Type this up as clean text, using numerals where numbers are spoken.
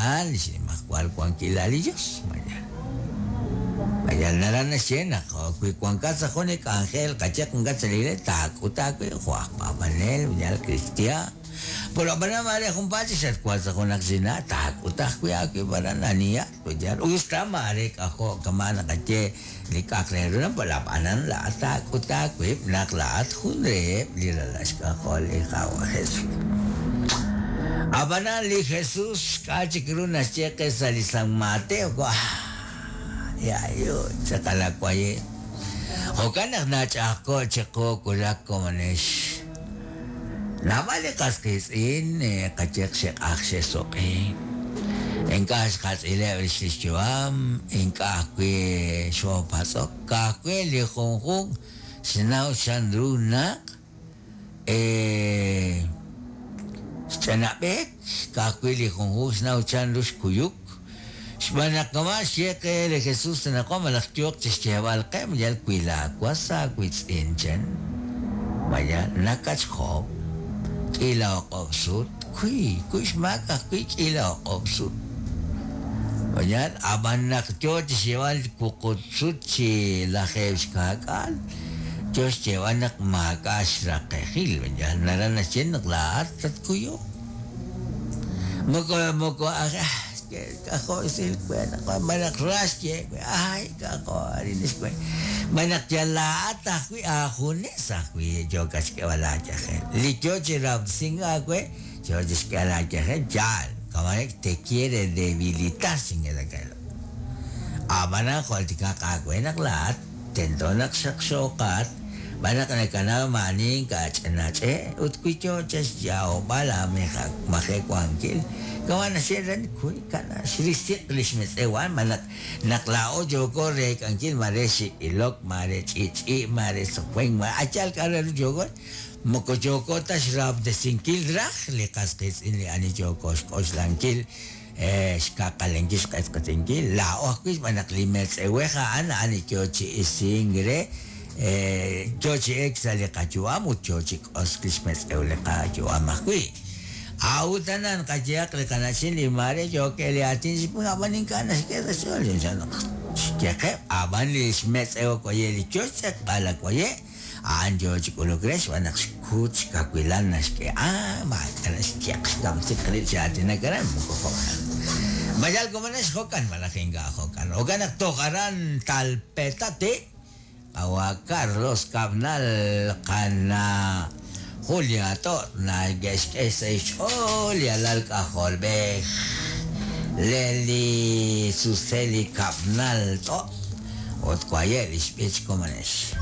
a'an li xnimajwal wankilal li Yos. Mayal naraj naxye naq wi wankat sa' jun li k'anjel qayehaq wankat sa' li iglees taak'ut aawib' jo' aj paab'anel, mayal kristiaan. Pero ab'anan maare junpaat chik xatwank sa' junaq chi na'aj taak'ut ajwi' aawib' aran anihat, mayal us ta maare k'ajo' kama' naqaye li k'a'aq re ru pero ab'anan laa'at taak'ut aawib' naq laa'at jun reheb' li ralal xk'ajol li Qaawa' Jesús. Ab'anan li Jesús k'a' chik ru naxye qe sa' li San Mateo, Yayu, tz'aqal awaye. Jo'kan naq nach'a'ajko'k chiqu wulak komonex. Naab'al li qas qiitz'in qayehaq xe'q'ajk xe'suq'i. Ink'a' xqatz'ileb' rix li xyu'am, ink'a' ajwi' xoopatz'ok, ka'ajwi' li junjunq xnaw chanru naq xch'anab'eek, ka'ajwi' li junjunq xnaw chanru xkuyuk. Xb'aan naq kama' xye qe li Jesús anaqwan malaj yooq chi xyeeb'al qe, yal wi laawas aawiitz'in chan, mayal nakatxjob' k'iila o'q'ob' sut, kuy, kuy xmaak ajwi' k'iila o'q'ob' sut. Mayal, ab'an naq yo chi xyeeb'al wuqub' sut chi lajeeb' xkaak'aal, yo xyeeb'al naq maak'a' xraqejil, mayal naraj naxye naq laa'at tatkuyuq. Moko moko aj k'ajo' xsil we naq malaj ra xye we ay k'ajo' arin xwe malaj yal laa'at ajwi' aajunes ajwi' yookat xk'eeb'al aayajel li yo chi rahob'tesink aawe yo chi xk'eeb'al aayajel yaal kama'an te quiere debilitar xingelakelo ab'anan jultikaq aawe naq laa'at tento naq xaqxooqat Xb'aan naq nakanaw maa'ani ink'a' ch'inach'e' ut wi yoo chaxyaab'al aamajewankil, kama' naxye re kuy kana' xrisiq li xmetz'ew a'an malaj naq laa'o yooko reek'ankil maare xik' ilok, maare ch'i'ch'i', maare sowen, maare a' yaal k'a' re ru yooko, moko yooko ta xrahob'tesinkil raj li qas qiitz'in li ani yooko xk'oxlankil xkaqalenkil xq'etq'etinkil, laa'o ajwi' xb'aan naq li metz'ewej a'an, a'an li yoo chi isink re, yoo chi elk sa' li qayu'am ut yoo chi k'osk lix metz'ew li qayu'am ajwi'. A'ut anan qayehaq li qana'chin li maare yookeb' li aatin chi ab'an ink'a' naxk'e sa' xch'ool chanchan naq xyeqeb', ab'an li xmetz'ew waye' li yoo xtz'eqb'al waye' A'an yoo chi k'uluk re xb'aan naq xkut xkawilal naxk'e. Ah, maak'a' naxyeq xkamsiq rib' chi aatinak aran, moko jo'kan. Ma yal komonex jo'kan malaj ink'a' jo'kan. Jo'kan naq toj aran Talpetate, qawa' Carlos Cabnal, qana' Julia To' nake'xk'e sa' xch'ool li alal k'ajolb'ej Leli Suseli Cabnal To' ut waye' li xb'ich komonex.